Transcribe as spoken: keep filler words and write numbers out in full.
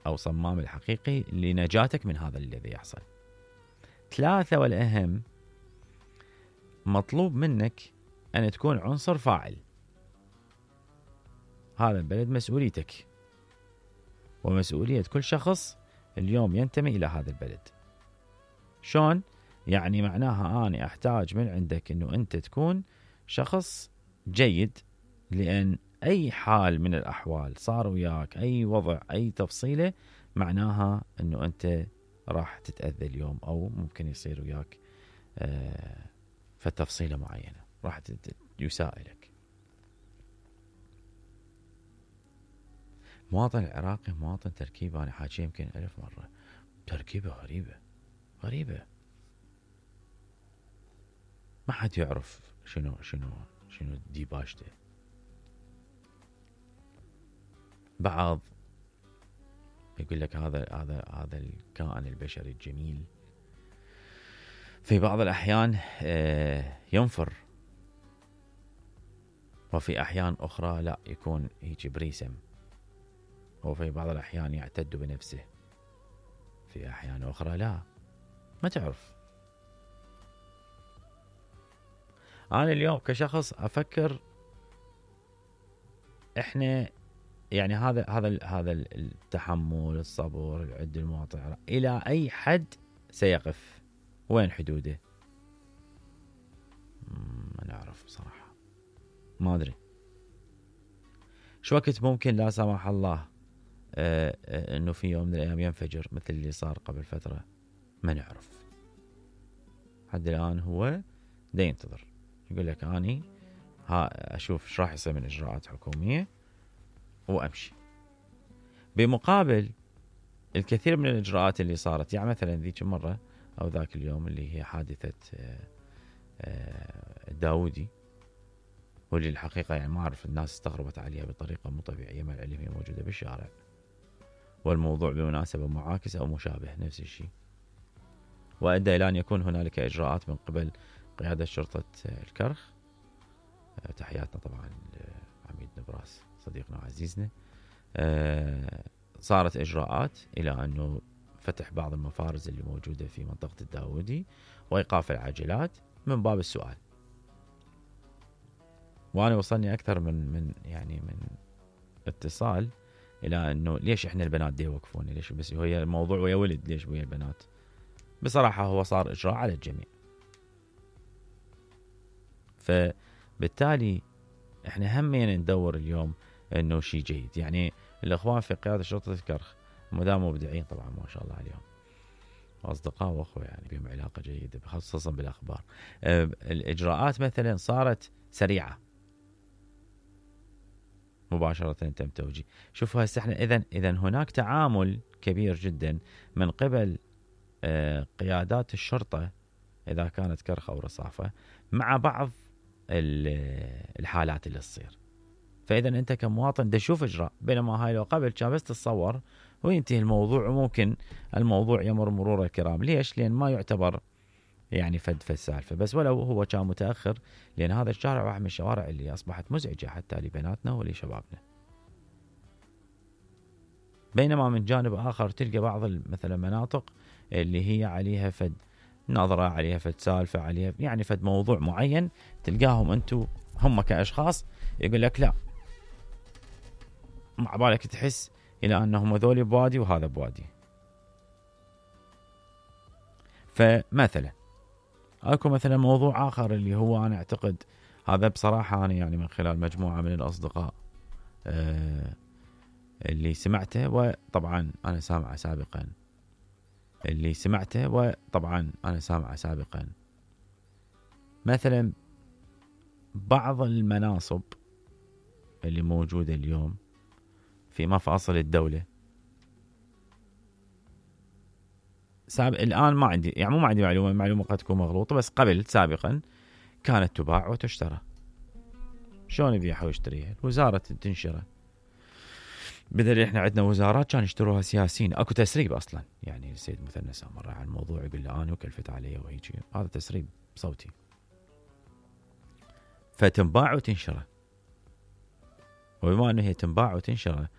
أو صمام الحقيقي لنجاتك من هذا الذي يحصل. ثلاثة والأهم، مطلوب منك أن تكون عنصر فاعل. هذا البلد مسؤوليتك ومسؤولية كل شخص اليوم ينتمي إلى هذا البلد. شون؟ يعني معناها أنا أحتاج من عندك أنه أنت تكون شخص جيد، لأن أي حال من الأحوال صار وياك أي وضع أي تفصيلة معناها أنه أنت راح تتأذى اليوم، أو ممكن يصير وياك آه فتفصيلة معينة راح يساء لك. مواطن العراقي مواطن تركيبة، أنا حاجة يمكن ألف مرة، تركيبة غريبة غريبة، ما حد يعرف شنو شنو شنو ديباجته. بعض يقول لك هذا هذا هذا الكائن البشري الجميل في بعض الأحيان ينفر، وفي أحيان أخرى لا، يكون هيك بريسم، وفي بعض الأحيان يعتد بنفسه، في أحيان أخرى لا، ما تعرف. أنا اليوم كشخص أفكر إحنا يعني هذا هذا هذا التحمل، الصبر، العد المواطن إلى أي حد سيقف؟ وين حدوده؟ ما نعرف بصراحة، ما أدري شو وقت ممكن لا سمح الله آه آه إنه في يوم من الأيام ينفجر مثل اللي صار قبل فترة، ما نعرف. حد الآن هو دا ينتظر، يقول لك أني ها أشوف إيش راح يصير من إجراءات حكومية وأمشي. بمقابل الكثير من الإجراءات اللي صارت، يعني مثلا ذيك مرة أو ذاك اليوم اللي هي حادثة الداودي، واللي الحقيقة يعني ما أعرف الناس استغربت عليها بطريقة مو طبيعية، مع العلم هي موجودة بالشارع، والموضوع بمناسبة معاكس أو مشابه نفس الشيء، وأدى إلى أن يكون هنالك إجراءات من قبل قيادة شرطة الكرخ. تحياتنا طبعا عميد نبراس صديقنا وعزيزنا. صارت إجراءات إلى أنه فتح بعض المفارز اللي موجودة في منطقة الداودي وإيقاف العاجلات من باب السؤال. وأنا وصلني أكثر من من يعني من اتصال إلى أنه ليش إحنا البنات دي يوقفوني، ليش بس هي الموضوع ويا ولد، ليش ويا البنات؟ بصراحة هو صار إجراء على الجميع. فبالتالي إحنا همين ندور اليوم أنه شيء جيد. يعني الأخوان في قيادة شرطة الكرخ مدام مبدعين طبعا ما شاء الله عليهم، أصدقاء وأخوة يعني بهم علاقة جيدة خصوصا بالأخبار. الإجراءات مثلا صارت سريعة مباشرة تم توجيه. شوفوا هسه احنا إذن إذن هناك تعامل كبير جدا من قبل قيادات الشرطة إذا كانت كرخ أو رصافة مع بعض الحالات اللي تصير. فإذا أنت كمواطن دا شوف إجراء، بينما هاي لو قبل كان بس تتصور وينتهي الموضوع، وممكن الموضوع يمر مرور الكرام. ليش؟ لأن ما يعتبر يعني فد في السالفة، بس ولو هو كان متأخر، لأن هذا الشارع واحد من الشوارع اللي أصبحت مزعجة حتى لبناتنا ولشبابنا. بينما من جانب آخر تلقى بعض مثلا مناطق اللي هي عليها فد نظرة، عليها فد سالفة، عليها يعني فد موضوع معين، تلقاهم أنتو هم كأشخاص يقول لك لا، مع بالك تحس إلى أنهم ذولي بوادي وهذا بوادي. فمثلا أكو مثلا موضوع آخر اللي هو أنا أعتقد هذا بصراحة أنا يعني من خلال مجموعة من الأصدقاء آه اللي سمعته، وطبعا أنا سامعه سابقا اللي سمعته وطبعا أنا سامعه سابقا مثلا بعض المناصب اللي موجودة اليوم في مفاصل الدولة سابق الآن ما عندي يعني مو ما عندي معلومة معلومة قد تكون مغلوطة، بس قبل سابقا كانت تباع وتشترى. شلون يبيعها ويشتريها؟ الوزارة تنشرها، بدل احنا عندنا وزارات كان يشتروها سياسيين. اكو تسريب اصلا، يعني السيد مثنى سامر على الموضوع يقول له انا وكلفت علي وهيجي، هذا تسريب صوتي. فتنباع وتنشره، وبما انه هي تنباع وتنشره